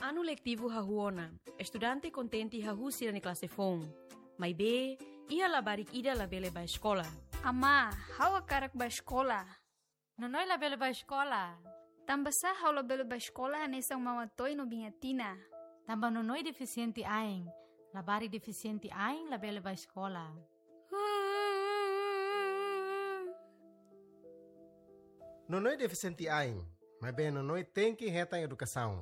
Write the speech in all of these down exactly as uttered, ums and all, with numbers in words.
Anu letivu hahú ona, estudante kontente hahú sira-nia klase foun. Maibé, iha labarik ida labele bá eskola. Amá, ha'u hakarak bá eskola. Nonoi labele bá eskola. Tanbasá ha'u labele bá eskola hanesan Mama Toy no Biña Tina? Tanba Nonoi defisiente ain. Labarik defisiente ain labele bá eskola. Nonoi defisiente ain, maibé Nonoi tenke hetan edukasaun.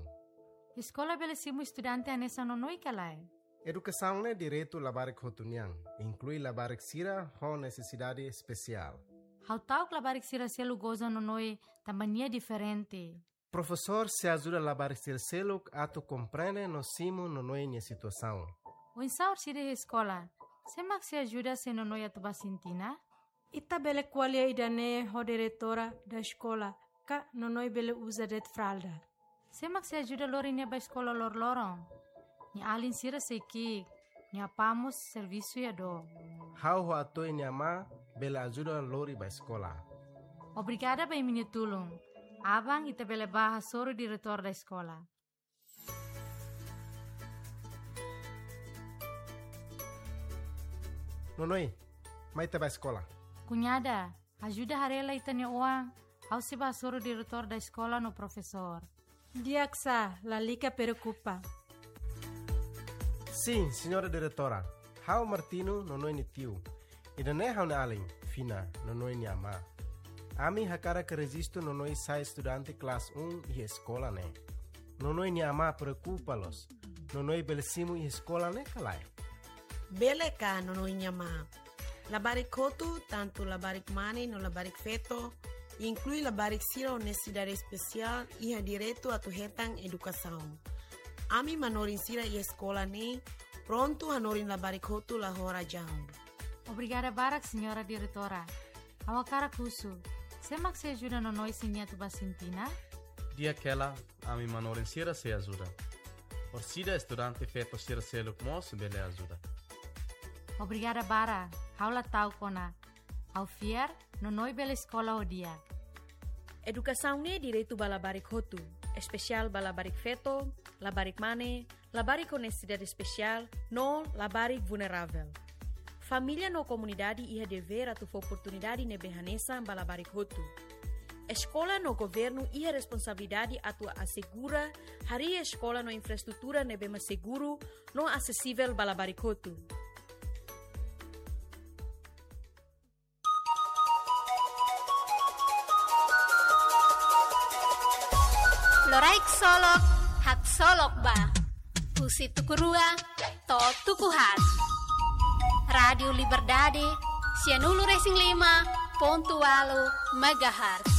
Eskola bele simu estudante hanesan Nonoi ka lae? Edukasaun ne'e direitu labarik hotu nian, inklui labarik sira ho nesesidade espesiál. Ha'u ta'uk labarik sira seluk goza Nonoi tanba nia diferente. Profesór sei ajuda labarik sira seluk atu komprende no simu Nonoi nia situasaun. Oinsá orsida iha eskola? Sé mak sei ajuda se Nonoi atu bá sintina? Ita bele ko'alia ida-ne'e ho diretora da eskola, ka Nonoi bele uza de'it fralda. Sé mak sei ajuda lori nia bá eskola loroloron? Nia alin sira sei ki'ik, nia apá mós servisu iha dook. Ha'u ho Atoy nia amá bele ajuda lori bá eskola. Obrigada ba imi-nia tulun. Aban ita bele bá hasoru diretór da eskola. Nonoi, mai ita bá eskola. Kuñada, ajuda haree lai ita-nia oan, ha'u sei bá hasoru diretór da eskola no profesór. Di'ak sá, lalika preokupa. Sin, señora diretora. Ha'u Martino, Nonoi nia tiu. Ida-ne'e ha'u-nia alin, Fina, Nonoi nia amá. Ami hakarak rejistu Nonoi sai estudante klase um iha eskola ne'e. Nonoi nia amá preokupa loos. Nonoi bele simu iha eskola ne'e ka lae? Bele ka, Nonoi nia amá. Labarik hotu, tantu labarik mane no labarik feto, inklui labarik sira ho nesesidade espesiál, iha direitu atu hetan edukasaun. Ami manorin sira iha eskola ne'e prontu hanorin labarik hotu la ho razaun. Obrigada barak, señora diretora. Ha'u hakarak husu, sé mak sei ajuda Nonoi se nia atu bá sintina? Di'ak hela, ami manorin sira sei ajuda. Orsida estudante feto sira seluk mós bele ajuda. Obrigada barak, ha'u la ta'uk ona. Ha'u fiar, Nonoi bele eskola ho di'ak. Edukasaun ne'e direitu ba labarik hotu, espesiál ba labarik feto, labarik mane, labarik ho nesesidade espesiál, no labarik vulneravel. Família no komunidade iha devér atu fó oportunidade ne'ebé hanesan ba labarik hotu. Eskola no governu iha responsabilidade atu asegura harii eskola no infraestrutura ne'ebé mak seguru no asesivel ba labarik hotu. Loraik solok, haksolok ba. Husi tuku rua to'o tuku haat. Rádiu Liberdade, sianulu resin lima pontu ualu megahertz.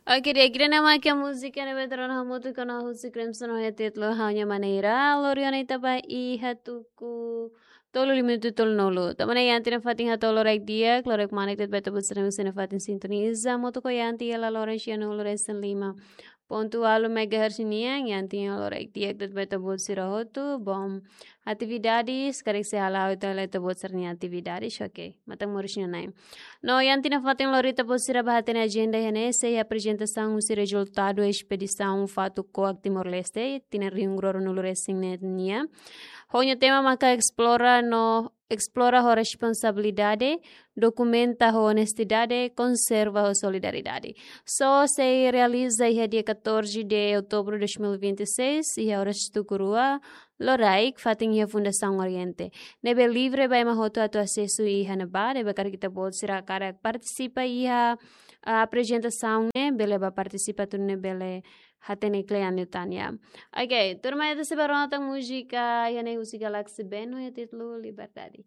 Oke, di'ak, ida-ne'e mak múzika ne'ebé tuur ona hamutuk ona husi Crimson ho títulu Ha'u-nia Maneira, lori ona ita ba iha tuku tolu lima minutu tolunulu. Tanba ne'e Yanti nafatin hato'o loraik di'ak, loraik manek de'it ba ita-boot sira ne'ebé sei nafatin sintoniza hamutuk ho Yanti iha laloran sianulu resin lima pontu ualu megahertz nian, Yanti nia loraik di'ak de'it ba ita-boot sira hotu, bom atividades, karik sei hala'o ita hela ita-boot sira-nia atividades, oke, matan moris nia na'in. No Yanti nafatin lori ita-boot sira ba hatene ajenda iha ne'e, sei aprezentasaun husi rezultadu espedisaun Fatuk Koak Timor-Leste, tinan rihun rua ruanulu resin neen nian. Ho nia tema maka esplora no, esplora ho responsabilidade, dokumenta ho onestidade, konserva ho solidariedade. Só sei realiza iha dia catorze de outubro de dois mil e vinte e seis, iha oras tuku rua loraik, fatin iha Fundasaun Oriente. Ne'ebé livre ba ema hotu atu asesu iha ne'ebá, ne'ebé karik ita-boot sira hakarak partisipa iha, ah, aprezentasaun ne'e, bele bá partisipa, atu nune'e bele hatene kle'an liután. Oke, tuirmai ita sei bá rona tan múzika iha ne'e husi Galaxy Band, ho títulu Liberdade.